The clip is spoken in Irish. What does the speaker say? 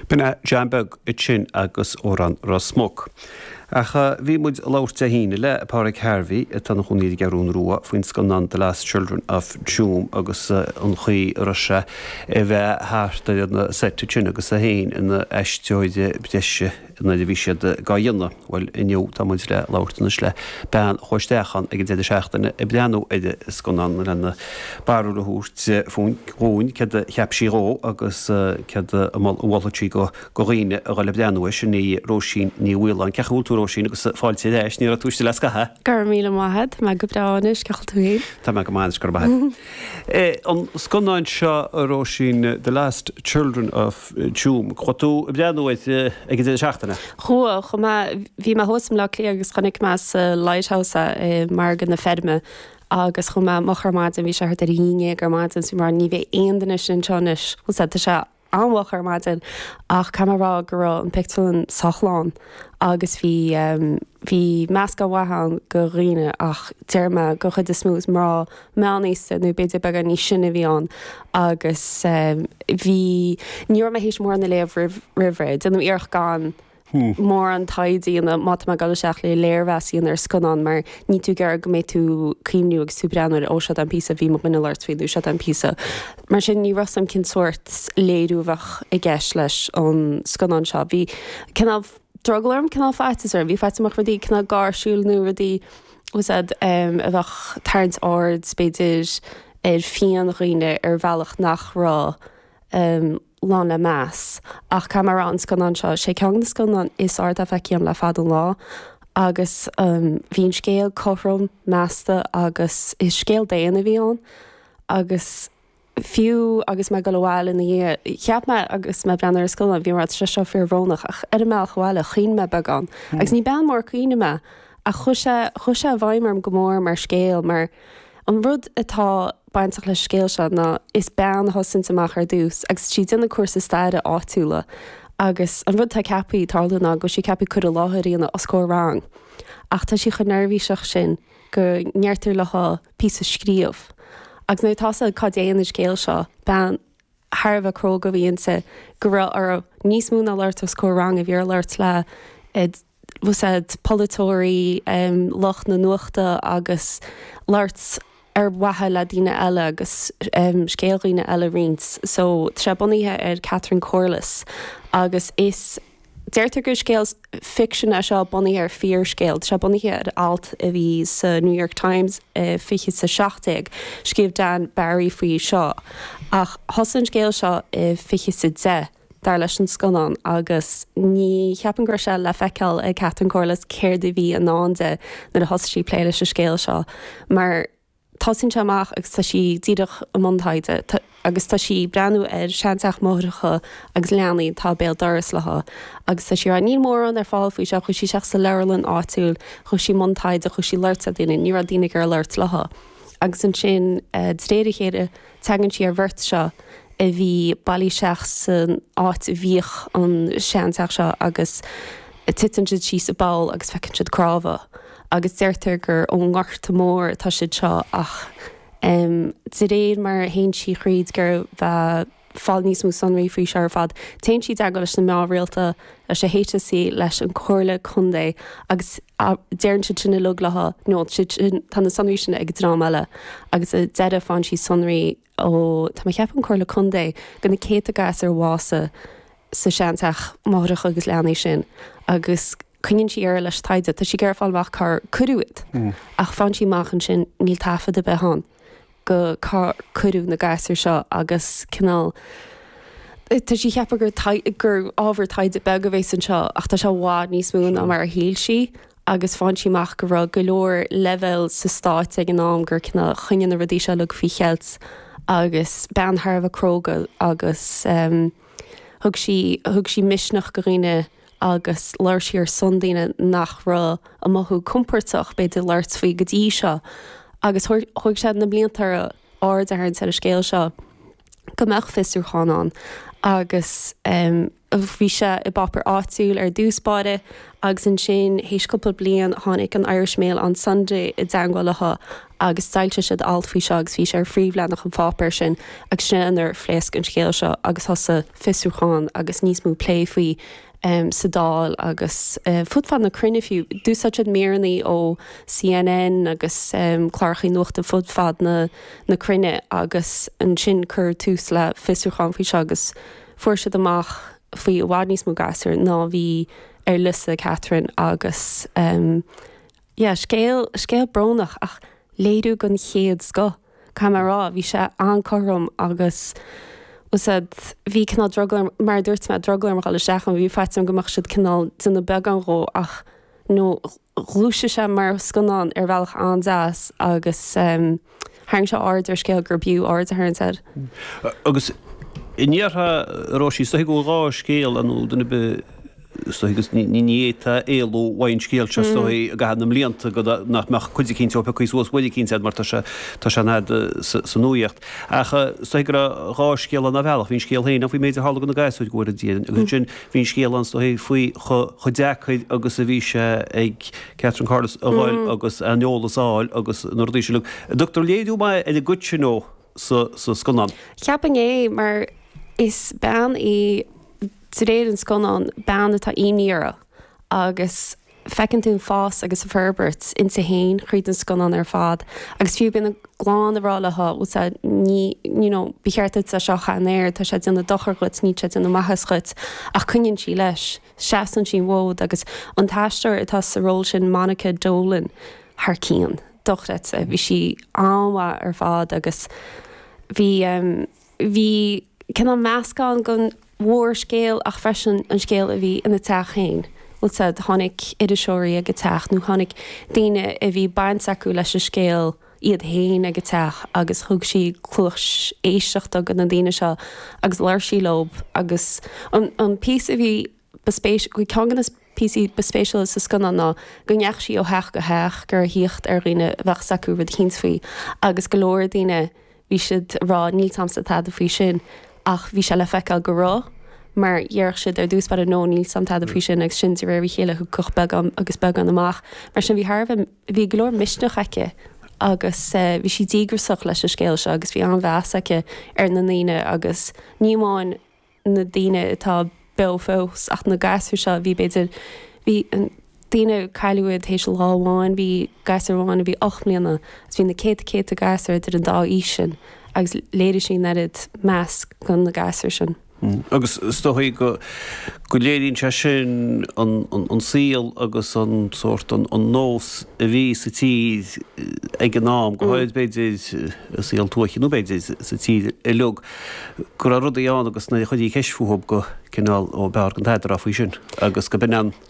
B'in é John Beag ansin agus Amhrán Ros Muc. Ach bhí muid ag labhairt Dé hAoine le Páraic Harvey, atá ina chónaí ar an gCeathrún Rua, faoin scannán The Lost Children of Tuam agus an chaoi a raibh sé a bheith thart ar an seit ansin agus é féin ina aisteoir breise nuair a bhí siad dhá dhéanamh. Bhuel, inniu tá muid le labhairt anois le bean a chuaigh isteach ann ag an deireadh seachtaine ag breathnú ar an scannán lena barúil a thabhairt dhúinn céard a cheap sí dhó agus céard a mholfadh sí do dhaoine a dhul ag breathnú air. Sin í Róisín Ní Mhaoláin. Cén chaoi a bhfuil tú, Róisín, agus fáilte ar ais. Ní raibh tú istigh le scaitheamh. Go raibh míle maith agat. Tá mé go breá anois. Cén chaoi a bhfuil tú féin? Tá mé go maith anois, go raibh maith agat. An scannán seo, a Róisín, The Lost Children of. Tuam. Chuaigh tú ag breathnú air ag an deireadh seachtaine? Chuaigh, chuaigh mé, bhí mé thuas i mBleá Cliath agus chonaic mé sa Lighthouse é i Margadh na Feirme agus chuaigh mé moch ar maidin, bhí sé thart ar a haon dhéag ar maidin so bhí mé ní bheidh aon duine sin anseo anois, bhfuil a fhios agat, tá sé an-mhoch ar maidin ach caithfidh mé a rá go raibh an pictiúrlann sách lán agus bhí, bhí meascán mhaith ann de dhaoine ach déarfaidh mé den chuid is mó is mná meánaosta nó b'fhéidir beagán níos sine a bhí ann agus bhí, ní raibh mé théis mórán a léamh roimh, roimh ré. Déanaim iarracht gan mórán taighde a dhéanamh má tá mé ag dul isteach le léirmheas a dhéanamh ar scannán mar níl tú ag iarraidh go mbeidh tú ag cuimhniú agus tú ag breathnú air, ó seo é an píosa a bhí mo dhuine ag labhairt faoi nó seo é an píosa. Mar sin ní raibh 's a'm cén sórt léiriú a bheadh i gceist leis an scannán seo. Bhí cineál drogall orm, cineál faitíos orm, bhí faitíos orm go mbeadh rudaí cineál gáirsiúil nó rudaí, bhfuil 's a'd, a bheadh ag tarraingt aird, b'fhéidir, ar phian dhaoine ar bhealach nach raibh lán le meas. Ach caithfidh mé a rá, an scannán seo, sé ceann de na scannáin is fearr atá feicthe agam le fada an lá agus bhí an scéal cothrom, measta agus is scéal daonna a bhí ann agus, Fiú agus mé ag dul abhaile ina dhiaidh, cheap mé agus mé ag breathnú ar an scannán, bhí mé ag rá, tá sé seo fíorbhrónach, ach ar an mbealach abhaile, chaoin mé beagán. Agus ní bean mhór caoine mé, ach chuaigh sé, chuaigh sé i bhfeidhm orm go mór mar scéal, mar an rud atá bainteach leis an scéal seo ná is bean a thosaíonns amach ar dtús agus tá sí ag déanamh cúrsa staire áitiúla agus an rud atá ceaptha tarlú ná go bhfuil sí ceaptha cur i láthair a dhéanamh os comhair rang ach tá sí chomh neirbhíseach sin go ndeirtear léi píosa a scríobh. Agus nuair atá 's agat cá dtéann an scéal seo, bean thar a bheith cróga a bhí inti, go raibh uirthi níos mó ná labhairt os comhair ranga, bhí uirthi labhairt le, bhfuil 's agat, polaiteoirí, lucht na nuachta agus labhairt ar mhaithe le daoine eile agus scéal dhaoine eile a roinnt. So, tá sé bunaithe ar Catherine Corless agus is. Deirtear gur scéal ficsin é seo bunaithe ar fíorscéal. Tá sé bunaithe ar alt a bhí sa New York Times i 2017. Scríobh Dan Barry faoi seo. Ach thosaigh an scéal seo i 2010, dar leis an scannán, agus ní cheapaim go raibh sé le feiceáil ag Catherine Corless céard a bhí i ndán di nuair a thosaigh sí ag plé leis an scéal seo. Mar. Tosaíonn sé amach agus tá sí díreach i mbun taighde agus tá sí ag breathnú ar seanteach máithreacha agus leanaí atá béal dorais léi agus tá sí ag rá níl mórán ar fáil faoi seo, chuaigh sí isteach sa leabharlann áitiúil, chuaigh sí i mbun taighde, chuaigh sí ag labhairt le daoine, ní raibh daoine ag iarraidh labhairt léi. Agus ansin de réir a chéile tagann sí ar bheirt seo a bhí bailithe isteach san áit a bhíodh an seanteach seo agus titeann siad síos i bpoll agus feiceann siad cnámha agus deirtear gur ón nGorta Mór atá siad seo ach de réir mar a théann sí thríd ag iarraidh fáil níos mó sonraí faoi seo ar fad téann sí i dteagmháil leis na meáin rialta, leis an HSE, leis an Comhairle Contae agus deireann siad sin uilig léi no siad sin tá na sonraí sin ag dream eile agus sa deireadh faigheann sí sonraí ó tá mé ag ceapadh an Comhairle Contae de na céadta gasúr a bhásaigh sa seanteach máithreacha agus leanaí sin agus coinníonn sí ar leis an taighde. Tá sí ag iarraidh fáil amach cár cuireadh iad ach faigheann sí amach ansin níl taifead ar bith ann go cár cuireadh na gasúir seo agus cineál tá sí ag ceapadh gur gur ábhar taighde beag a bhéas anseo ach tá sé i bhfad níos mó ná mar a shíl sí agus faigheann sí amach go raibh go leor leibhéal sa stát ag an am gur cineál choinnigh na rudaí seo uilig faoi cheilt agus bean thar a bheith cróga agus thug sí thug sí misneach go dhaoine agus labhair sí ar son daoine nach raibh ag mothú compordach b'fhéidir labhairt faoi go dtí seo agus thóg sé na blianta uirthi aird a tharraingt ar an scéal seo go mbeadh fiosrúchán ann agus. Bhí sé i bpáipéar áitiúil ar dtús báire agus ansin théis cúpla bliain tháinig an Irish Mail on Sunday i dteangmháil leo agus d'fhoilsigh siad alt faoi seo agus bhí sé ar phríomhleathanach an pháipéir sin agus sin inar phléasc an scéal seo agus thosaigh fiosrúchán agus níos mó plé faoi sa Dáil agus fud fad na cruinne fiú. D'úsáid siad míreanna ó CNN agus clárachaí nuachta fud fad na cruinne agus ansin cuireadh tús le fiosrúchán faoi seo agus Fuair siad amach faoi i bhfad níos mó gasúr ná bhí ar liosta Catherine agus yeah, scéal, scéal brónach ach léiriú den chéad scoth, caithfidh mé a rá. Bhí sé an-cothrom agus bhfuil a fhios agat, bhí cineál drogall orm, mar a dúirt mé, drogall orm a dhul isteach ann, bhí faitíos orm go mbeadh siad cineál déanamh beagán dhó ach nó ghluais sé mar scannán ar bhealach an-deas agus tharraing sé aird ar scéal gur b'fhiú aird a tharraingt air. Agus an ndéarfá, a Róisín, is dóichí go bhfuil dhá scéal ann nó duine ar bith, is dóichí agus ní fhéadfá éalú uaidh an scéal seo is dóichí i gcaitheamh na mblianta go nach mbeadh cuid eicínt ó piocthaí suas uair eicínt agat mar tá sé tá sé an fhad sa nuaíocht. Ach is dóichí go raibh dhá scéal ann ar bhealach, bhí an scéal féin ann faoin méid a tharla do na gasúir go bhfóire Dia agus ansin Bhí an scéal ann is dóichí faoi chomh deacair agus a bhí sé ag Catherine Corless a dhul agus an eolas a fháil agus na rudaí sin. An dtugtar léiriú maith ar an gcuid sin ó sa scannán. Cheapfainn é mar is bean í, de réir an scannáin, bean atá imní uirthi agus Feiceann tú an fás agus an forbairt inti féin thríd an scannán ar fad agus fiú bíonn a clann ag rá léi, bhfuil a fhios agat, ní, you know, ba cheart duit é seo a chaitheamh air, tá sé ag déanamh dochar dhuit, níl sé ag déanamh maitheas dhuit ach coinníonn sí leis, seasann sí an fód agus an t-aisteoir atá sa ról sin, Monica Dolan, thar cionn, dochreidte, bhí sí an-mhaith ar fad agus bhí, Bhí cineál meascán den mhórscéal ach freisin an scéal a bhí ina teach féin. Bhfuil a fhios agat, tháinig iriseoirí ag an teach nó tháinig daoine a bhí baint acu leis an scéal iad féin ag an teach agus thug sí cluas éisteachta do na daoine seo agus labhair sí leo agus an píosa a bhí ba spéis, ceann de na píosaí ba spéisiúla sa scannán ná go ndeachaigh sí ó theach go theach ag iarraidh thíocht ar dhaoine a bheadh 's acu rud eicínt faoi agus go leor daoine bhí siad ag rá níl 's a'msa tada faoi sin ach bhí sé le feiceáil go raibh mar dhéarfadh siad ar dtús báire no níl 's a'm tada faoi sin agus sin de réir a chéile thiocfadh beagán agus beagán amach mar sin bhí thar a bheith bhí go leor misneach aici agus bhí sí díograsach leis an scéal seo agus bhí an-mheas aici ar na ndaoine agus ní amháin na daoine atá beo fós ach na gasúir seo a bhí b'fhéidir, bhí daoine a cailleadh iad théis lá amháin, bhí gasúr amháin a bhí 8 mbliana agus bhí na céadta céadta gasúr idir an dá aois sin agus léirigh sí an oiread meas do na gasúir sin. Agus is dóigh go go léiríonn sé sin an saol agus an sórt an nós a bhí sa tír ag an am, go háirid b'fhéidir i saol tuaithe nó b'fhéidir sa tír uilig. go raibh rudaí ann agus nuair a chuirtí ceist fúthub go cineál ó b'fhearr gan tada a rá faoi sin agus go b'in an.